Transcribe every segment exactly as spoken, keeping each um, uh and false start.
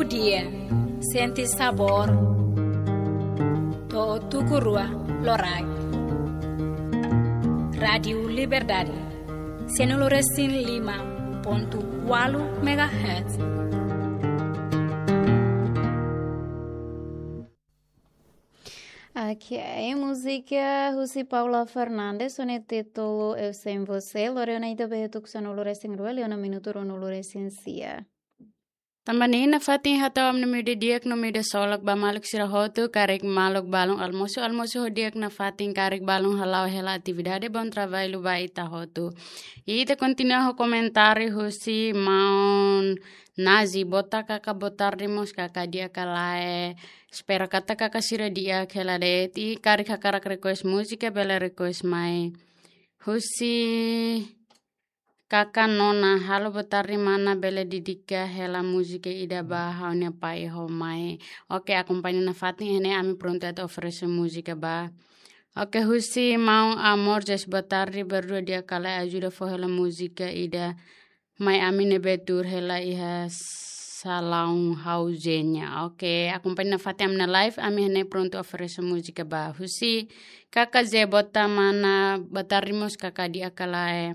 Dia, sente sabór. To'o tuku rua loraik. Rádiu Liberdade, sianulu resin lima pontu ualu megahertz. Ok, múzika husi Paula Fernandes, ho nia títulu Eu Sem Você, lori ona ita ba iha tuku sanulu resin rua, liu ona minutu ruanulu resin sia. Tanba ne'e nafatin hato'o ami-nia ida di'ak no ida solok ba maluk sira hotu, karik maluk balun almosu, almosu ho di'ak, nafatin karik balun hala'o hela atividade, bom trabalho ba ita hotu. I ita kontinua ho komentáriu husi maun Nazi, boa tarde kaka, boa tarde mós kaka, di'ak ka lae, espera katak kaka sira di'ak hela de'it, i karik hakarak request múzika bele request mai. Husi Kaka Nona, halo boa tarde mana, bele dedika hela múzika ida ba ha'u-nia pai ho mai. Ok, akompaña nafatin, iha ne'e ami prontu atu oferese múzika ba. Ok, husi maun Amor, Jess, boa tarde, berdua, di'ak ka lae, ajuda fó hela múzika ida mai ami ne'ebé tuur hela iha salaun ha'u Zenia. Ok, akompaña nafatin ami-nia live, ami iha ne'e prontu oferese múzika ba. Husi Kaka Ze, boa tarde mana, boa tarde mós kaka, di'ak ka lae.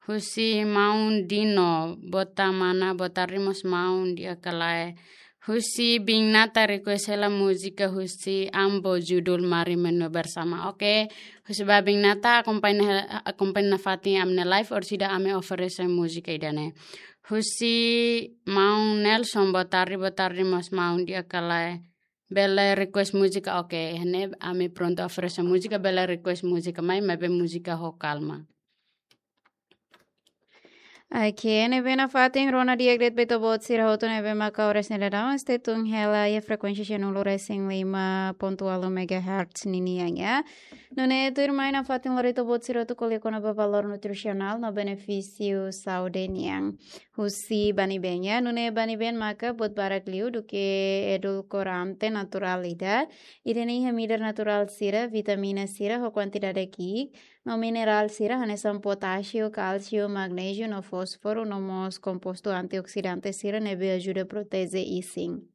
Husi maun Dino, boa tarde mana, boa tarde mós maun, di'ak ka lae. Husi Biin Nata request hela múzika husi Ambo, judul Mari Menua Bersama. Ok, husi ba Biin Nata akompaña, akompaña nafatin ami-nia live, orsida ami oferese múzika ida-ne'e. Husi maun Nelson, boa tarde, boa tarde mós maun, di'ak ka lae, bele request múzika. Ok, iha ne'e ami prontu oferese múzika, bele request múzika mai, maibé múzika ho kalma. Ok, ne'ebé nafatin rona di'ak de'it ba ita-boot sira hotu ne'ebé maka oras ne'e daudaun stay tune hela iha frekuénsia sianulu resin lima pontu ualu megahertz ninian, ya. Nune'e tuirmai nafatin lori ita-boot sira hotu ko'alia kona-ba valór nutrisionál no benefísiu saúde nian husi Banibem, ya. Nune'e Banibem maka buat barak liu duké edulkorante naturál ida. Ida-ne'e iha midar naturál sira, vitamina sira ho kuantidade ki'ik, no minerál sira hanesan potásiu, kálsiu, magnéziu no fósforu, no mós kompostu antioksidante sira ne'ebé ajuda proteje isin.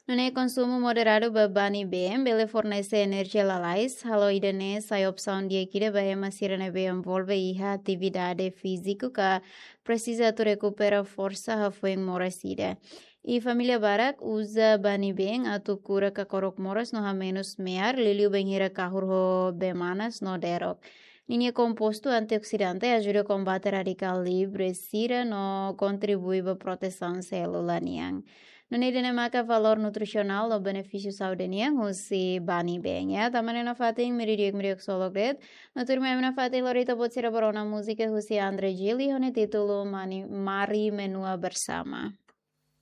Nune'e konsumu moderadu ba Banibem bele fornese enerjia lalais, halo ida-ne'e sai opsaun di'ak ida ba ema sira ne'ebé envolve iha atividade fíziku ka presiza atu rekupera forsa hafoin moras ida. I família barak uza Banibem atu kura kakorok moras no hamenus me'ar, liuliu bainhira kahur ho bee manas no derok. Ninia kompostu antioksidante ajuda kombate radikál livre sira no kontribui ba protesaun sélula nian. Nune'e ida-ne'e maka valór nutrisionál no benefísiu saúde nian husi Banibem, ya. Tanba ne'e nafatin, miri di'ak, miri di'ak solok de'it. No tuirmai ami nafatin lori ita-boot sira ba rona múzika husi André Gil ho nia títulu Mani-, Mari Menua Bersama.